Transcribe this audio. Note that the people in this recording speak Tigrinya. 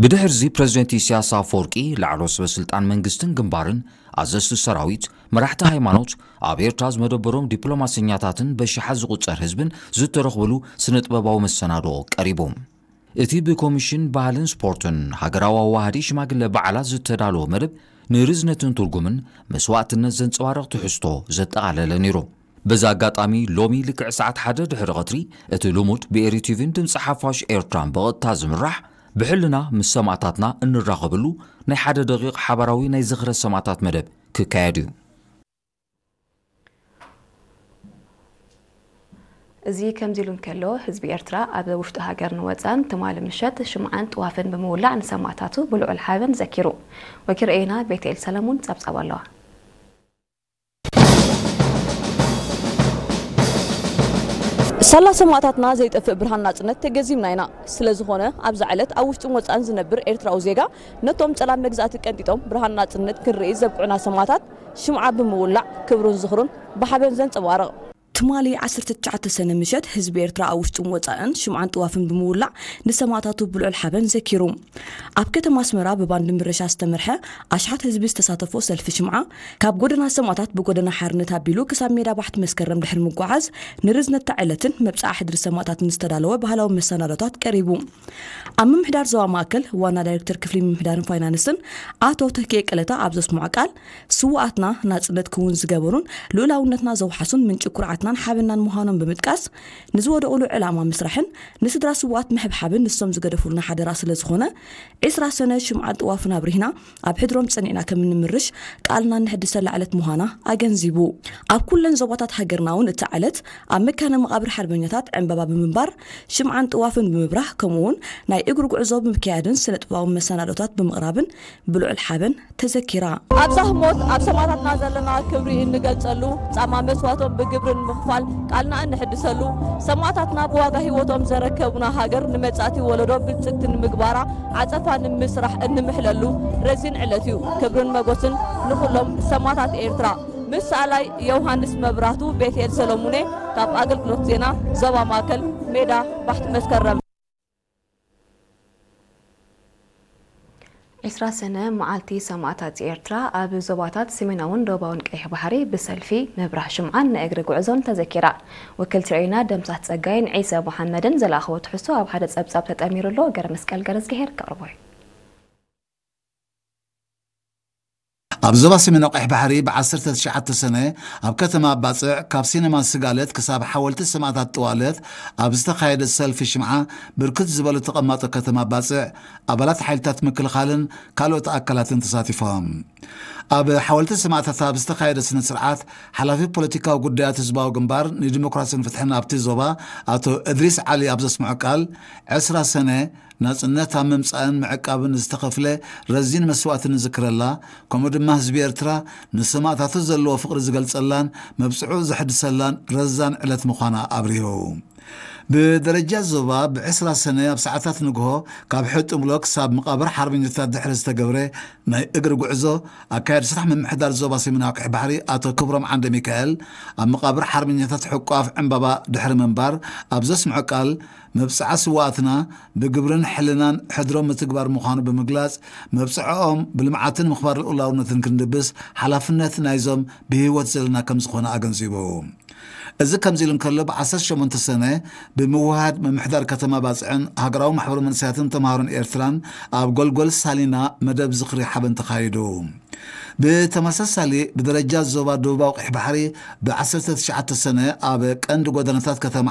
ብድሕርዚ ፕረዚደንት ኢሳያስ ኣፈወርቂ፣ ላዕሎ ሰበ ስልጣን መንግስትን ግንባርን፣ ኣዘዝቲ ሰራዊት፣ መራሕቲ ሃይማኖት፣ ኣብ ኤርትራ ዝመደበሮም ዲፕሎማሰኛታትን በሽሓት ዝቑጸር ህዝብን ዝተረኽብሉ ስነ ጥበባዊ መሰናድኦ ቀሪቡ። እቲ ብኮሚሽን ባህልን ስፖርትን ሃገራዊ ኣዋሃዲ ሽማግለ በዓላት ዝተዳለወ መደብ ንርዝነትን ትርጉምን መስዋእትነት ዘንጸባርቕ ትሕዝቶ ዘጠቓለለ ነይሩ። በዚ ኣጋጣሚ ሎሚ ልክዕ ሰዓት ሓደ ድሕሪ ቐትሪ እቲ ልሙድ ብኤሪ ቲቪን ድምፂ ሓፋሽ ኤርትራን ብቐጥታ ዝምራሕ ብሕልና ምስ ሰማእታትና እንራኸበሉ ናይ ሓደ ደቂቕ ሓባራዊ ናይ ዝኽረ ሰማእታት መደብ ክካየድ እዩ። እዚ ከምዚ ኢሉ እንከሎ፣ ህዝቢ ኤርትራ ኣብ ውሽጢ ሃገርን ወጻእን ትማሊ ምሸት ሽምዓን ጥዋፍን ብምውላዕ ንሰማእታቱ ብልዑል ሓበን ዘኪሩ። ወኪል ርኤና ቤትኤል ሰለሙን ጸብጻብ ኣለዋ። ሳላ ሰማእታትና ዘይጠፍእ ብርሃን ናጽነት ተገዚምና ኢና። ስለ ዝኾነ፣ ኣብዛ ዕለት ኣብ ውሽጥን ወጻእን ዝነብር ኤርትራዊ ዜጋ፣ ነቶም ጸላም መግዛእቲ ቀንጢጦም ብርሃን ናጽነት ክንርኢ ዘብቅዑና ሰማእታት ሽምዓ ብምውላዕ ክብሩን ዝኽሩን ብሓበን ዘንጸባርቕ። ትማሊ ዓሰርተ ትሽዓተ ሰነ ምሸት፣ ህዝቢ ኤርትራ ኣብ ውሽጥን ወጻእን ሽምዓን ጥዋፍን ብምውላዕ ንሰማእታቱ ብልዑል ሓበን ዘኪሩ። ኣብ ከተማ ኣስመራ ብባንድ ምረሻ ዝተመርሐ ኣሽሓት ህዝቢ ዝተሳተፎ ሰልፊ ሽምዓ፣ ካብ ጎደና ሰማእታት ብጎደና ሓርነት ኣቢሉ ክሳብ ሜዳ ባሕቲ መስከረም ድሕሪ ምጓዓዝ፣ ንርዝነት እታ ዕለትን መብጽዓ ሕድሪ ሰማእታትን ዝተዳለወ ባህላዊ መሰናዶታት ቀሪቡ። ኣብ ምምሕዳር ዞባ ማእከል ዋና ዳይሬክተር ክፍሊ ምምሕዳርን ፋይናንስን ኣቶ ተኪኤ ቀለታ ኣብ ዘስምዖ ቃል፣ ስውኣትና ናጽነት ክውን ዝገበሩን ልኡላውነትና ዘውሓሱን ምንጪ ኩርዓትናን ሓበናን ምዃኖም ብምጥቃስ፣ ንዝወደቑሉ ዕላማ ምስራሕን ንስድራ ስውኣት ምሕብሓብን ንሶም ዝገደፉልና ሓደራ ስለ ዝኾነ፣ ዕስራ ሰነ ሽምዓን ጥዋፍን ኣብሪህና ኣብ ሕድሮም ጸኒዕና ከም እንምርሽ ቃልና እንሕድሰላ ዕለት ምዃና ኣገንዚቡ። ኣብ ኩለን ዞባታት ሃገርና እውን እታ ዕለት ኣብ መካነ መቓብር ሓርበኛታት ዕምባባ ብምንባር፣ ሽምዓን ጥዋፍን ብምብራህ፣ ከምኡውን ናይ እግሪ ጉዕዞ ብምክያድን ስነ ጥበባዊ መሰናዶታት ብምቕራብን ብልዑል ሓበን ተዘኪራ። ኣብዛ ህሞት ኣብ ሰማእታትና ዘለና ክብሪ እንገልጸሉ፣ ጻማ መስዋእቶም ብግብሪ ንምኽፋል ቃልና እንሕድሰሉ፣ ሰማእታትና ብዋጋ ህይወቶም ዘረከቡና ሃገር ንመጻእቲ ወለዶ ብልጽግቲ ንምግባራ ዓጸፋ ንምስራሕ እንምሕለሉ ረዚን ዕለት እዩ። ክብርን መጎስን ንኹሎም ሰማእታት ኤርትራ። ምስ ሰኣላይ ዮሃንስ መብራህቱ፣ ቤትኤል ሰሎሙኔ፣ ካብ ኣገልግሎት ዜና ዞባ ማእከል፣ ሜዳ ባሕቲ መስከረም። ዕስራ ሰነ መዓልቲ ሰማእታት ኤርትራ ኣብ ዞባታት ሰሜናውን ደቡባውን ቀይሕ ባሕሪ ብሰልፊ፣ ምብራህ ሽምዓን ናይ እግሪ ጉዕዞን ተዘኪራ። ወኪልቲ ርኢና ደምሳት ጸጋይን ዒሰ መሓመድን ዝለኣኽዎ ትሕዝቶ ኣብ ሓደ ጸብጻብ ተጠሚሩ ኣሎ። ገረመስቀል ገረዝግሄር ከቕርቦ እዩ። ኣብ ዞባ ሰሜናዊ ቀይሕ ባሕሪ ብ ዓሰርተ ትሽዓተ ሰነ ኣብ ከተማ ኣባጽዕ ካብ ሲነማ ስጋለት ክሳብ ሓወልቲ ሰማእታት ጥዋለት ኣብ ዝተኻየደ ሰልፊ ሽምዓ ብርክት ዝበሉ ተቐማጦ ከተማ ኣባጽዕ፣ ኣባላት ሓይልታት ምክልኻልን ካልኦት ኣካላትን ተሳቲፎም። ኣብ ሓወልቲ ሰማእታት ኣብ ዝተኻየደ ስነ ስርዓት ሓላፊ ፖለቲካዊ ጉዳያት ህዝባዊ ግንባር ንዲሞክራስን ፍትሕን ኣብቲ ዞባ ኣቶ እድሪስ ዓሊ ኣብ ዘስምዖ ቃል፣ ዕስራ ሰነ ናጽነት ኣብ ምምጻእን ምዕቃብን ዝተኸፍለ ረዚን መስዋእቲ ንዝክረላ፣ ከምኡ ድማ ህዝቢ ኤርትራ ንሰማእታቱ ዘለዎ ፍቕሪ ዝገልጸላን መብጽዑ ዘሕድሰላን ረዛን ዕለት ምዃና ኣብሪሁ። ብደረጃ ዞባ ብዕስራ ሰነ ኣብ ሰዓታት ንግሆ ካብ ሕጡምሎ ክሳብ መቓብር ሓርበኛታት ድሕሪ ዝተገብረ ናይ እግሪ ጉዕዞ፣ ኣካያዲ ስራሕ ምምሕዳር ዞባ ሰሜናዊ ቀይሕ ባሕሪ ኣቶ ክብሮም ዓንደ ሚካኤል ኣብ መቓብር ሓርበኛታት ሕቋፍ ዕምባባ ድሕሪ ምንባር ኣብ ዘስምዖ ቃል፣ መብጽዓ ስውኣትና ብግብርን ሕልናን ሕድሮም ምትግባር ምዃኑ ብምግላጽ፣ መብጽዓኦም ብልምዓትን ምኽባር ልኡላውነትን ክንድብስ ሓላፍነት ናይዞም ብህይወት ዘለና ከም ዝኾነ ኣገንዚቡ። እዚ ከምዚ ኢሉ እንከሎ፣ ብ ዓሰርተ ሸሞንተ ሰነ ብምውህሃድ ምምሕዳር ከተማ ባጽዕን ሃገራዊ ማሕበር መንእሰያትን ተምሃሮን ኤርትራን ኣብ ጎልጎል ሳሊና መደብ ዝኽሪ ሓበን ተኻይዱ። ብተመሳሳሊ፣ ብደረጃ ዞባ ደቡባዊ ቀይሕ ባሕሪ ብ ዓሰርተ ትሽዓተ ሰነ ኣብ ቀንዲ ጎደናታት ከተማ